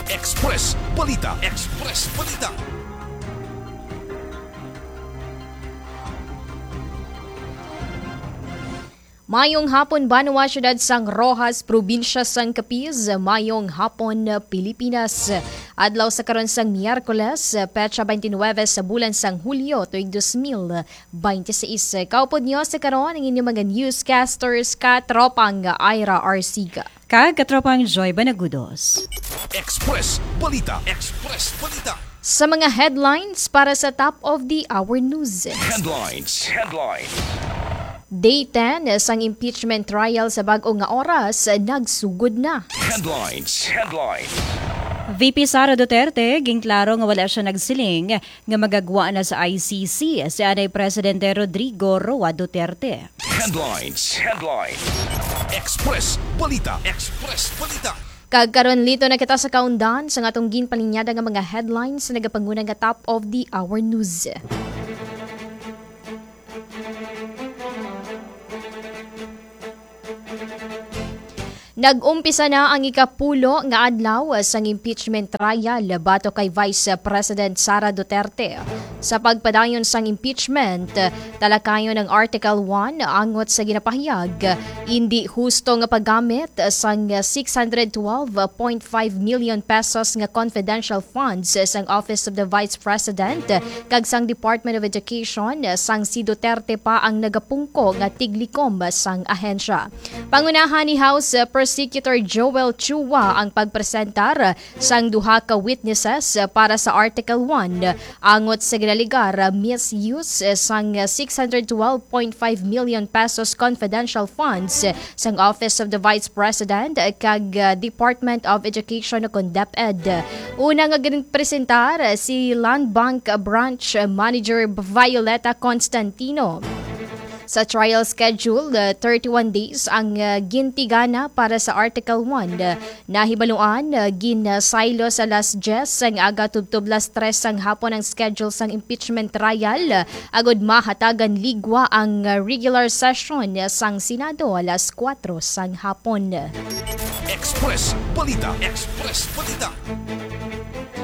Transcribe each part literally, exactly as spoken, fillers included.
Express Balita. Express Balita. Mayong hapon, banwa, siyudad sang Roxas, probinsya sang Capiz. Mayong hapon, Pilipinas. Adlaw sa karon sang Miyerkules, petsa twenty-nine sa bulan sang Hulyo, tuig dos mil twenty-six. Kaupod niyo sa karon ang inyong mga newscasters, katropang Ira Arsiga. Kag katropang Joy Banagudos. Express Balita. Express Balita. Sa mga headlines para sa top of the hour news. Headlines. Headlines. Day ten sang impeachment trial sa bag-o nga oras nagsugod na. Headlines. Headlines. V P Sara Duterte ginklaro nga wala siya nagsiling nga magagwa na sa I C C si anay Presidente Rodrigo Roa Duterte. Headlines. Headlines. Express Balita. Express Balita. Kag karon, lito na kita sa kaundan sa atong ginpalinyada nga mga headlines sa nagapanguna nga top of the hour news. Nag-umpisa na ang ikapulo nga adlaw sang impeachment trial batok kay Vice President Sara Duterte. Sa pagpadayon sang impeachment, talakayon ang Article one angot sa ginapahayag indi husto nga paggamit sang six hundred twelve point five million pesos nga confidential funds sang Office of the Vice President kag sang Department of Education sang si Duterte pa ang nagapungko nga tiglikom sang ahensya. Pangunahan ni House Prosecutor Joel Chua ang pagpresentar sang duha ka witnesses para sa Article one angot sa ginalegar misuse sang six hundred twelve point five million pesos confidential funds sang Office of the Vice President kag, uh, Department of Education o kon DepEd. Una nga ginpresentar si Land Bank Branch Manager Violeta Constantino. Sa trial schedule, uh, thirty-one days ang, uh, gintigana para sa Article one. Nahibaluan, uh, ginsaylo sa alas diyes sang aga tubtob alas tres sang hapon ang schedule sang impeachment trial, uh, agud mahatagan ligwa ang, uh, regular session sang Senado alas kuwatro sang hapon. Express Balita. Express Balita.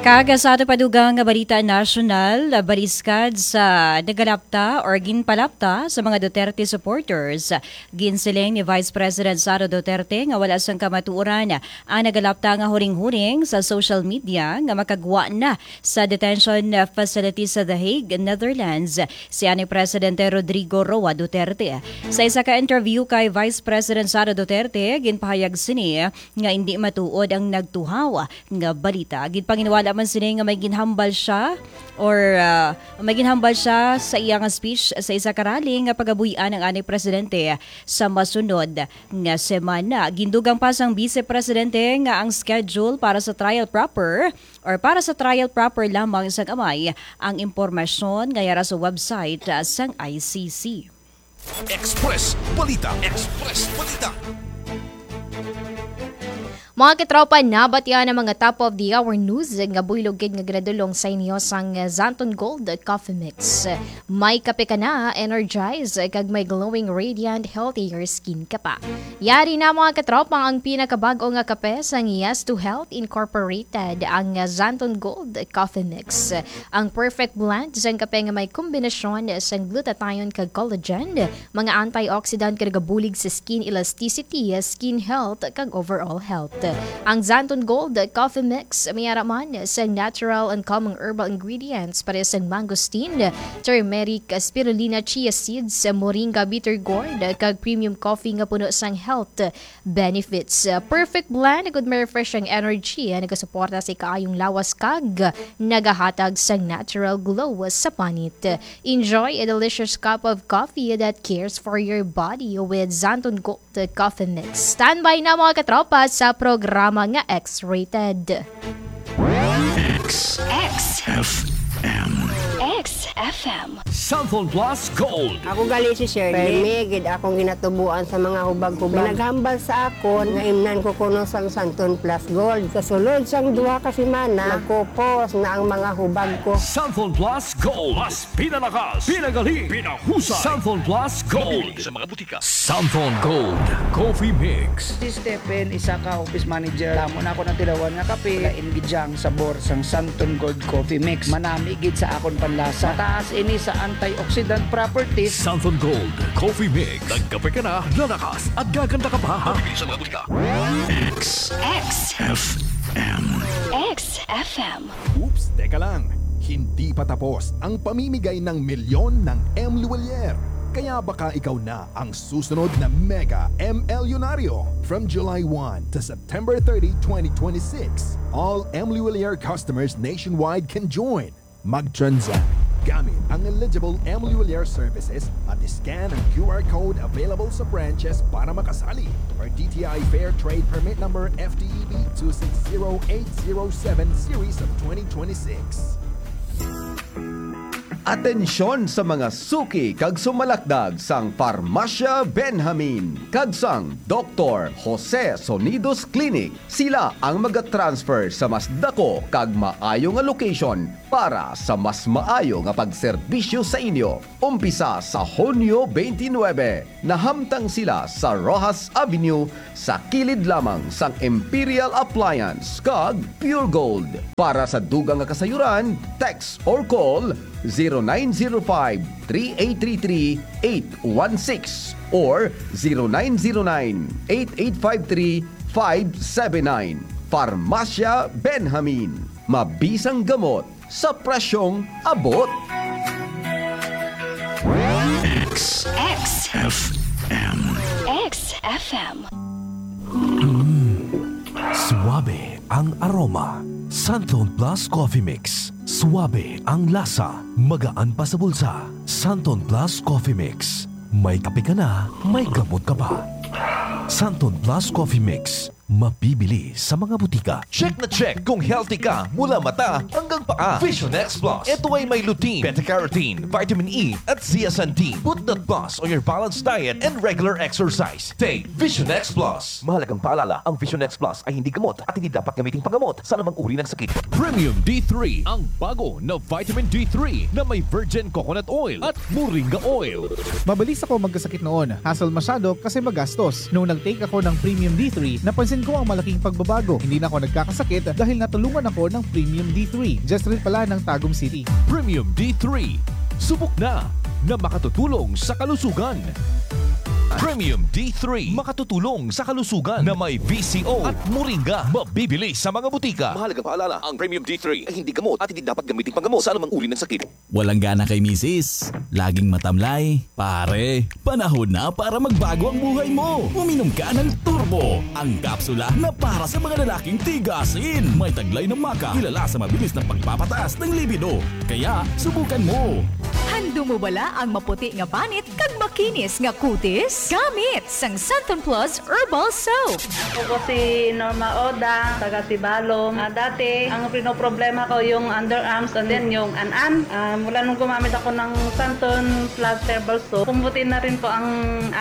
Kag sa ato pa dugang nga balita nasyonal, baliskad sa nagalapta or ginpalapta sa mga Duterte supporters, ginsiling ni Vice President Sara Duterte nga wala sang kamatuoran ang nagalapta nga huring-huring sa social media nga makagwa na sa detention facility sa The Hague, Netherlands, si anay Presidente Rodrigo Roa Duterte. Sa isa ka interview kay Vice President Sara Duterte, ginpahayag sini nga indi matuod ang nagtuhaw nga balita. Ginpanginwala man sini nga may ginhambal siya or, ah, may ginhambal siya sa iya nga speech sa isa ka rally nga pagabuy-an ang anay presidente sa masunod nga semana. Gindugang pa sang Vice Presidente nga ang schedule para sa trial proper or para sa trial proper lamang sang amay ang impormasyon nga yara sa website, ah, sang I C C. Express Balita. Express Balita. Mga katropa, nabatian ang mga top of the hour news nga buylog gid nga ginadulong sa inyo sang Xanthone Gold Coffee Mix. May kape ka na, energize, kag may glowing, radiant, healthier skin ka pa. Yari na, mga katropa, ang pinakabag-o nga kape sang Yes to Health Incorporated, ang Xanthone Gold Coffee Mix. Ang perfect blend sang kape nga may kombinasyon sang glutathione kag collagen, mga antioxidant nga nagabulig sa skin elasticity, skin health, kag overall health. Ang Xanthone Gold Coffee Mix may ara man sang natural and common herbal ingredients, pareha sang mangosteen, turmeric, spirulina, chia seeds, moringa, bitter gourd, kag premium coffee nga puno sang health benefits. Uh, perfect blend, good may refreshing energy, uh, nagasuporta sa ikaayong lawas kag nagahatag sang natural glow sa panit. Enjoy a delicious cup of coffee that cares for your body with Xanthone Gold Coffee Mix. Standby na, mga katropa, sa programa nga X-Rated. X. X. F M. X. F M. Santon Plus Gold. Ako gali si Shirley. Permi gid akong ginatubuan sa mga hubag-hubag. May naghambal sa akon nga imnan ko kuno sang Santon Plus Gold. Sa sulod sang duha ka semana, nagkupos na ang mga hubag ko. Santon Plus Gold. Mas pinalakas, pinagali, pinahusay. Santon Plus Gold. Mabibili sa mga butika. Santon Gold Coffee Mix. Si Stephen, isa ka office manager. Damo na ako natilawan nga kape. Lain gid siya ang sabor sang Santon Gold Coffee Mix. Manami gid sa akon panlasa. Mataas ini sa antioxidant properties. Santon Gold Coffee Mix. Nagkape ka na, lalakas at gaganda ka pa. Mabibili sa mga butika. X X F M. X F M. Oops, teka lang. Hindi pa tapos ang pamimigay ng milyon ng M Luwalier. Kaya baka ikaw na ang susunod na mega M L Yunaryo. From July one to September thirty, twenty twenty-six, all M Luwalier customers nationwide can join. Mag-transact gamit ang eligible M Luwalier services at scan ang Q R code available sa branches para makasali, or D T I Fair Trade Permit Number F T E B two six zero eight zero seven series of twenty twenty-six. Atensyon sa mga suki kag sumalakdag sang Farmacia Benjamin kag sang Doktor Jose Sonidos Clinic. Sila ang magatransfer sa mas dako kag maayo nga location para sa mas maayo nga pagserbisyo sa inyo. Umpisa sa Hunyo twenty-nine, nahamtang sila sa Roxas Avenue, sa kilid lamang sang Imperial Appliance kag Pure Gold. Para sa dugang nga kasayuran, text or call zero nine zero five, three eight three three, eight one six or zero nine zero nine, eight eight five three, five seven nine. Farmacia Benjamin. Mabisang gamot sa presyong abot. X X F M. X F M. Suabe ang aroma. Santon Plus Coffee Mix. Suabe ang lasa. Magaan pa sa bulsa. Santon Plus Coffee Mix. May kape ka na, may gamot ka pa. Santon Plus Coffee Mix. Mabibili sa mga butika. Check na check kung healthy ka mula mata hanggang paa. Vision X Plus. Ito ay may lutein, beta-carotene, vitamin E, at zeaxanthin. Put that plus on your balanced diet and regular exercise. Take Vision X Plus. Mahalagang paalala, ang Vision X Plus ay hindi gamot at hindi dapat gamiting panggamot sa anumang uri ng sakit. Premium D three, ang bago na vitamin D three na may virgin coconut oil at moringa oil. Mabilis ako magkasakit noon. Hassle masyado kasi magastos. Nung nag-take ako ng Premium D three, napansin ko ang malaking pagbabago. Hindi na ako nagkakasakit dahil natulungan ako ng Premium D three. Just rin pala ng Tagum City. Premium D three. Subok na na makatutulong sa kalusugan. Premium D three, makatutulong sa kalusugan, na may V C O at moringa. Mabibili sa mga butika. Mahalagang paalala, ang Premium D three ay hindi gamot at hindi dapat gamitin panggamot sa anumang uri ng sakit. Walang gana kay misis? Laging matamlay? Pare, panahon na para magbago ang buhay mo. Uminom ka ng Turbo, ang kapsula na para sa mga lalaking tigasin. May taglay na maca, kilala sa mabilis na pagpapataas ng libido. Kaya, subukan mo. Handum mo bala ang maputi nga panit kag makinis nga kutis? Gamit sang Santon Plus Herbal Soap. Ako po si Norma Oda, taga Sibalom. Ah, dati, ang pinoproblema ko yung underarms and then yung an-an. Ah, mula nung gumamit ako ng Santon Plus Herbal Soap, pumuti na rin po ang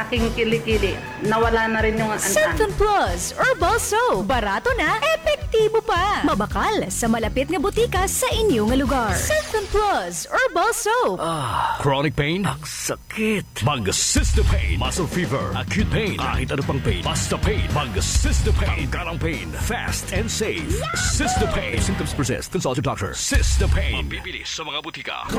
aking kilikili. Nawala na rin yung an-an. Santon Plus Herbal Soap. Barato na, epektibo pa. Mabakal sa malapit nga butika sa inyo nga lugar. Santon Plus Herbal Soap. Ah, chronic pain? Ang sakit. Mag Sister Pain. Muscle fever, acute pain, kahit ano pang pain. Basta pain. Mag Sister Pain. Tanggal ang pain. Fast and safe. Sister Pain. If symptoms persist, consult your doctor. Sister Pain. Mabibili sa mga butika.